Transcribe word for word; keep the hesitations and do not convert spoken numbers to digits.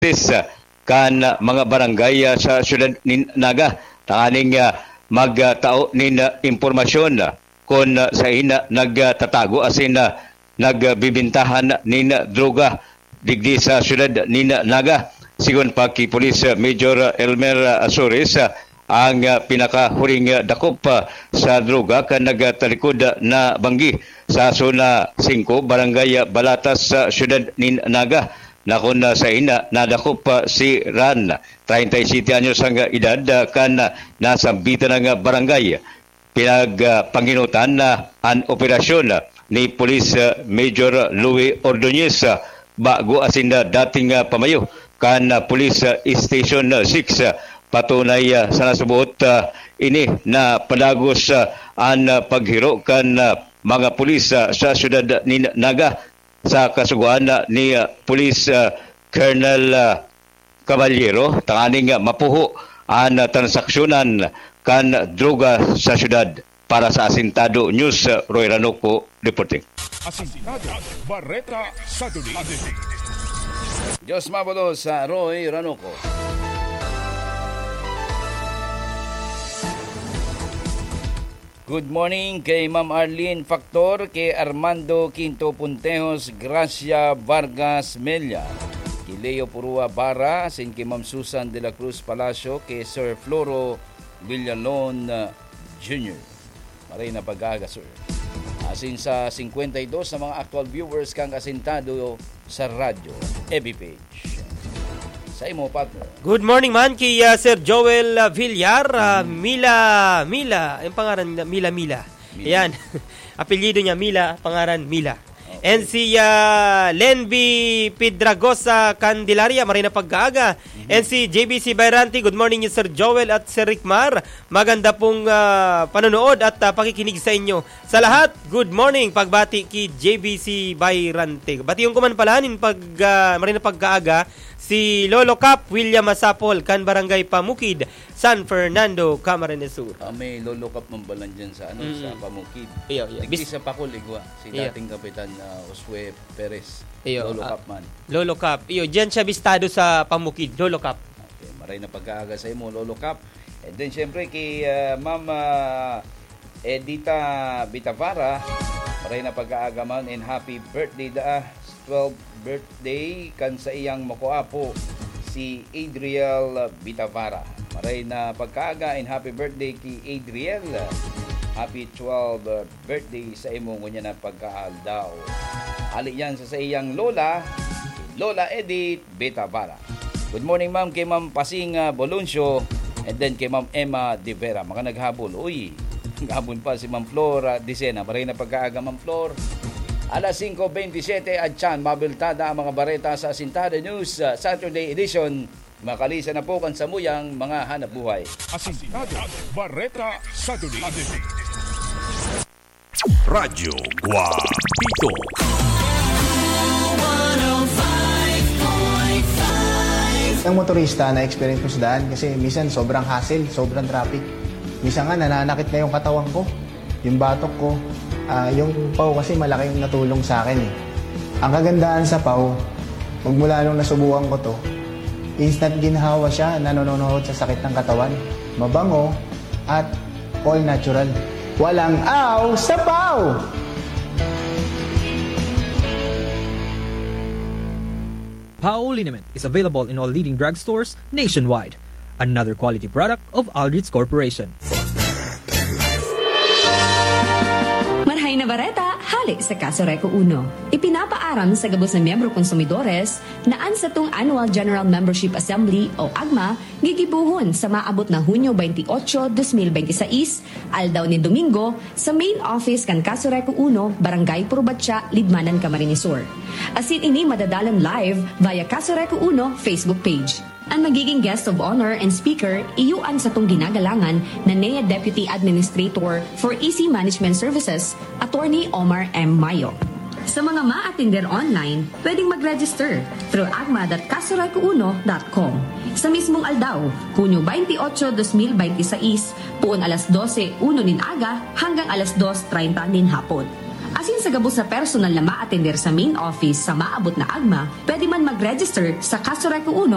Justice, ah, kan, ah, mga barangay, ah, sa siyudad nin Naga, tanganing, ah, magtao nin, ah, impormasyon, ah, kun, ah, saen, ah, nagtatago asin, ah, nagbibintahan nin droga digdi sa siyudad nin Naga. Sigon pa ki Police Major Elmer Azores, ah, ang, ah, pinakahuring, ah, dakop, ah, sa droga kan nagtalikod, ah, na banggi sa Zona singko, Barangay, ah, Balatas sa siyudad nin Naga, na kun, ah, saen, ah, nadakop, ah, si Ran, treinta y siete anyos ang, ah, edad, ah, kan, ah, nasambitan na, ah, barangay. Pinag, ah, pangenotan na an operasyon, ah, ni Police, ah, Major Louie Ordonez, ah, bago asin, ah, dating, ah, pamayo kan, ah, Police, ah, Station, ah, six, ah, patunay, ah, sa nasuboot, ah, ini na padagos, ah, an, ah, paghiro kan, ah, mga pulis, ah, sa siyudad nin Naga sa kasugoan, ah, ni, ah, Police, ah, Colonel, ah, Caballero, tanganing mapuho an transaksyonan kan droga sa syudad. Para sa Asintado News, Roy Ranoco reporting. Asintado, Bareta sa Duli. Diyos mabulos sa Roy Ranoco. Good morning kay Ma'am Arlene Factor, kay Armando Quinto Puntejos, Gracia Vargas Mella, kay Leo Purua Barra, asin kay Ma'am Susan de la Cruz Palacio, kay Sir Floro Villalon, uh, Junior. Maray na pag-aaga, sir. Asin sa singkwenta y dos na mga actual viewers kang Asintado sa radyo, F B page. Sa imo, partner. Good morning man kay, ah, Sir Joel, ah, Villar, ah, Mm. Mila, Mila, yung pangaran niya, Mila, Mila. Mila. Yan. Apelyido niya, Mila, pangaran, Mila. Okay. And si, ah, Lenby Pedragosa Candelaria, maray na pagkaaga. Mhm. And si J B C Bayrante, good morning, Sir Joel at Sir Rickmar. Maganda pong, ah, panonood at, ah, pakikinig sa inyo. Sa lahat, good morning. Pagbati ki J B C Bayrante. Batiyon ko man pala nin pag, ah, maray na pagkaaga, si Lolo Cap William Masapol, kan Barangay Pamukid, San Fernando, Camarines Sur. Ah, may Lolo Cap man pala dyan sa, ano, Mm. sa Pamukid. Iyo, iyo. Digdi Bis- sa Pacol, igwa. Si Iyo. dating Kapitan, ah, Josue Perez. Iyo, Lolo ah, Cap man. Lolo Cap. Iyo, diyan siya bistado sa Pamukid, Lolo Cap. Okay, maray na pagkaaga sa imo, Lolo Cap. And then, syempre, kay, ah, Ma'am, ah, Edita Bitavara, maray na pagkaaga man and happy birthday da, twelve birthday kan sa iyang makuapo, si Adriel Bitavara. Maray na pagkaaga and happy birthday kay Adriel. Happy twelve birthday sa imo ngunyan na pagkaaldaw. Ali yan sa saiyang lola, Lola Edith Bitavara. Good morning, ma'am, kay Ma'am Pasing, ah, Boloncio, and then kay Ma'am Emma De Vera. Mga naghabol. Uy, naghabol pa si Ma'am Flor, ah, Dicena. Maray na pagkaaga, Ma'am Flor. Alas singko bentisiete, at siyan, mabiltada ang mga bareta sa Asintado News, ah, Saturday Edition. Makalisan na po kan samuyang mga hanap buhay. Asintado, Bareta sa Duli. Radyo Guapito. Ang motorista na experience ko sa daan kasi minsan sobrang hassle, sobrang traffic. Minsan nga nananakit na yung katawan ko, yung batok ko. Ah, yung pau kasi malaki yung natulong sa akin eh. Ang kagandahan sa pau, magmula nung nasubukan ko to, instant ginhawa siya, nanononohod sa sakit ng katawan. Mabango at all natural. Walang aw sa pau! Pau liniment is available in all leading drugstores nationwide. Another quality product of Aldrich Corporation. Marhay na bareta, hale sa Kaso Reco Uno. Ipinapaaram sa gabos na miyembro konsumidores na an satong Annual General Membership Assembly o agma gigibohon sa maabot na Hunyo twenty-eight, twenty twenty-six, aldaw nin Domingo, sa main office kan Kaso Reco Uno, Barangay Purbatya, Libmanan, Camarines Sur. Asin ini madadalan live via Kaso Reco Uno Facebook page. An magiging guest of honor and speaker, iyo an satong ginagalangan na N E A Deputy Administrator for E C Management Services, Attorney Omar M. Mayo. Sa mga maatender online, pwedeng mag-register through agma dot kasorecouno dot com. Sa mismong aldaw, Hunyo twenty-eight, twenty twenty-six, poon alas dose uno nin aga hanggang alas dos treinta nin hapon. Asin sa gabos na personal na maatender sa main office sa maabot na agma, pwede man mag-register sa Kaso Reco Uno